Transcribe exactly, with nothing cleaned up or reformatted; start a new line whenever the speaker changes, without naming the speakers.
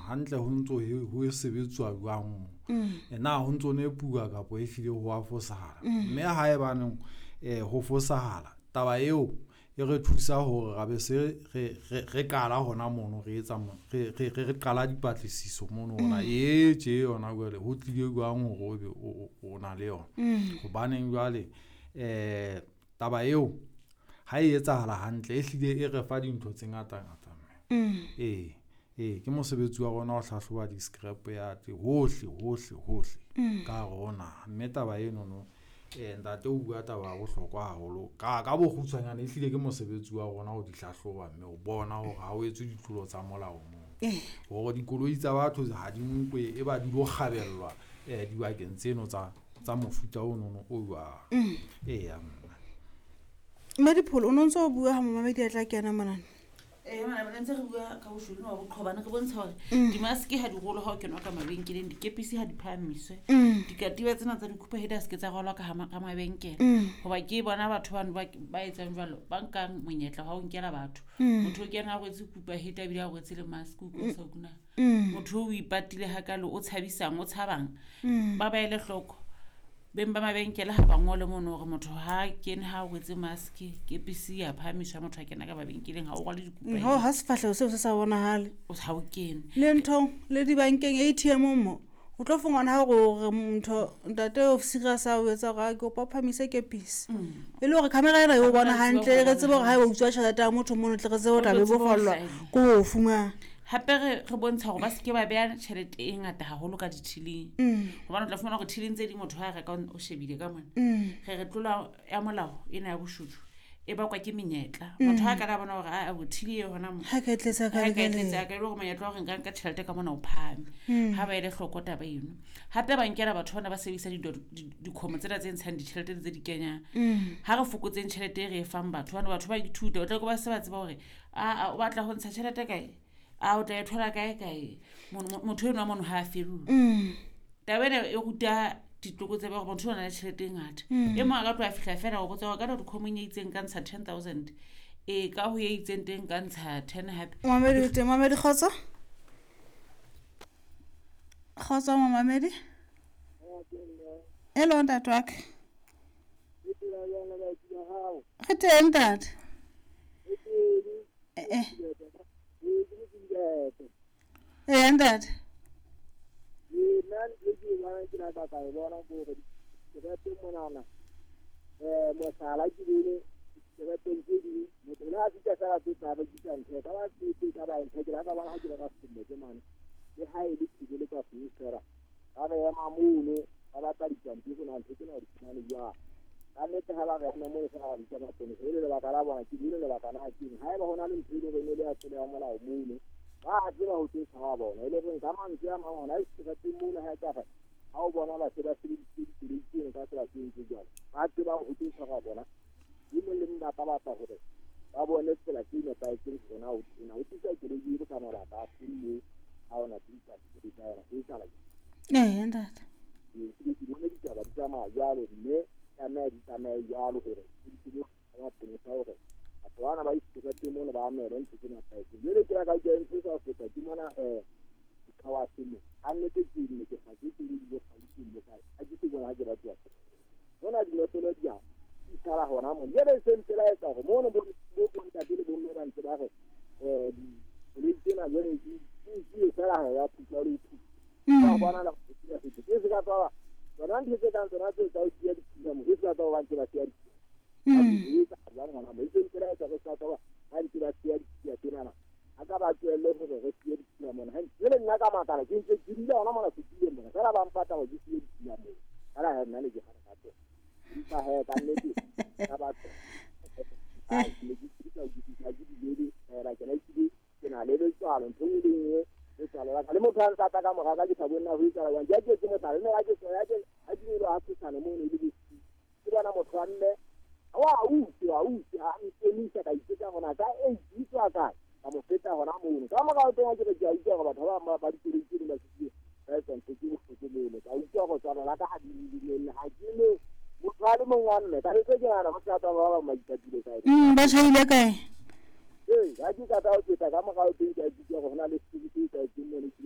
hantle ho ntso ho sebetswa jwang mo. Na ho ntso nepuwa kapa ehlile ho a fosahala. Mme haebaneng ho fosahala taba eo e re thusa hore ra be se re re qala hona mono, re etsa re re qala dipatlisiso mono hore e tje yona jwale ho tlile jwang hore o be o na le yona. Hobaneng jwale taba eo ha e etsahala hantle, ehlile e re fa dintho tse ngata ngata mme. Ee, ee, ke mosebetsi wa rona ho hlahloba di-scrap yard hohle hohle hohle ka hare ho naha. Mme taba enono ntate o bua taba ya bohlokwa haholo. Ka ka bokgutshwanyane ehlile ke mosebetsi wa rona ho di hlahloba mme o bona hore ha o etswe ditlolo tsa molao moo. Hore dikoloi tsa batho ha di nkwe e ba di lo kgabellwa dibakeng tseno tsa tsa mofuta ono o jwalo. Eya mme.
Mme Dipholo o no ntso o bua ha momamedi a tla kena monana.
Ee, mona ntse re bua ka boshodu ba boqhobane, re bontsha hore dimaske ha di rolwe ha o kenwa ka mabenkeleng, dikepisi ha di phahamiswe, dikatiba tsena tsa dikhupa ha se ke tsa rwalwa ka ka mabenkele. Hoba ke bona batho bano ba ba etsang jwalo, ba nkang monyetla wa ho nkela batho. Motho o kena a rwetse kupa heta ebile a rwetse le mask, o utlwa o sa kuna. Motho o ipatile hakalo, o tshabisang, o tshabang. Ba ba ele hloko. Beng ba mabenkele ha ba ngole mono hore motho ha kene ha rwetse mask, kepisi ya phahamiswa motho a kena ka mabenkeleng ha o rwale dikupa.
Ho ha sefahleho seo se sa bonahale.
Ha o kene.
Le nthong le dibankeng A T M mo. O tlo fumana hore motho ntate officer a sa o etsa hore a ke kopa o phahamise kepisi. E le hore camera ena e o bona hantle, re tsebe hore ha o utswa tjhelete ya motho mono tle re tsebe ho tla bebofallwa ke ho fumana.
Hape re re bontsha hore ba se ke ba beha tjhelete e ngata haholo ka dithileng. Hobane o tla fumana hore thileng tse ding motho ha reka o shebile ka mona. Re re tlola ya molao ena ya boshodu e bakwa ke menyetla. Motho ha ka la bona hore a bothile e hona mo.
Ha ka tletsa ka
Ha ka tletsa ka ile hore monyetla wa hore nka nka tjhelete ka mona o phahame. Ha ba ele hloko taba eno. Hape ba nkela batho bana ba sebedisa dikhomo tsena tse ntshang ditjhelete tse di kenyang. Ha re fokotseng tjhelete e re e fang batho, hobane batho ba ithuta, o tla ke ba se ba tseba hore a o batla ho ntsha tjhelete kae? A o tla e thola kae kae? Motho enwa mono ha a fellwe. Taba ena e ruta ditlokotsebe hore motho o na le tjhelete e ngata. E mong a ka tloha fihla feela o botsa hore ka dikgomong e itseng ka ntsha ten thousand. E ka ho e itseng teng ka ntsha ten hape.
Mamedi o teng, mamedi kgotso? Kgotso mamedi. Hello ntate wa ka. Re teng ntate. Eh eh. Eh ntate.
Nna ntho e ke e bonang ke la ka ka e bona ke hore direpeng monana, eh mohlala ke bone direpeng tse ding, motho le ha fihla feela tse tsa rekisa ntho e ka ba tse ka ba ntho ke la ka bona ha ke reka selemo ke mane le ha e le ke le ka fela ba re ema mono ba batla dipampiri na ntho tsena di fumane jwang. Ka nnete ha ba re ema mono fela ba bitsa maponesa e le lebaka la bona ke bone lebaka na ke eng. Haeba hona le ntho e leng hore e le ya tsela ya molao mono ba tseba ho tse tshaba bona e le reng ka mantswe a mang hona e serateng mono ha e ka re ha o bona ba se ba sebedisitse dikoloi tseno ka tsela tse ntse jwalo ba tseba ho tse tshaba bona e mong le mong ba ka batla hore ba bone tsela tse nepahetseng hore na o tena o tlisa koloi e ka mabaka a feng moo ha ona dipampiri tsa yona e tsala.
Eh ntate.
Ke ke bone ditaba di tsamaya jwalo mme tlameha di tsamaye jwalo hore di tsebe maponesa hore batho bana ba iserateng mono ba amele ntho tse nepahetseng. Jwale ke la ka utlwa ntho e sa feta ke mona um dikgawase mo ha nnete ke ne ke sa ke ke le Gauteng mo kae ha ke se bona ha ke batla mona dinotlolo di a di sala hona mo. Jwale se ntse la etsa hore mono bo bo ntate le bomme ba ntse ba re um dikoloi tsena jwale di di fela ha ya phutla le phutla ba bona la go ke se ka tswa tsona ntho tse kang tsona tse tsa ho siya dithunya mo e se ka tswa ba ntse ba siya dithunya. E tsa jwang hona mo e se ntse la etsa re sa tswa ba ntse ba siya dithunya tsenana a ka ba tlohelle hore re siye dithunya mona. Ha jwale nna ka makala ke ntse ke dula hona mona setuleng mona fela ba mpata hore ke siye dithunya mona fela ha nna le ke kgana ka teng empa he ka nnete ka batho a ke ke ke ke ke di fela ke la ke ke na le letswalo ntho e le nngwe letswalo la ka le motho a ntsa ka mora ka ke sa bone na ho etsahala jwang. Ke ke mohlala mme ha ke ya ke ha ke ile ha thusana mono e le bosiu ke bona motho wa mme wa utlwa utlwa ha nkemisa ka ipotsa hore na ka e utlwa kae ka mo feta hona mono ka morao teng ha ke re ke a utlwa hore batho ba bang ba dikoloi tse ding ba fihlile ba etsa ntho tse bohloko mono ka utlwa hore tswalo la ka ha di dumelle ha ke le motho a le mong wa mme ka ntse ke nahana ho sa tla ba bang ba ipatile kae.
Ba tjhaile kae?
Ee ha ke ka tla ho feta ka morao teng ke a utlwa hore hona le setsi se etsahetseng mono.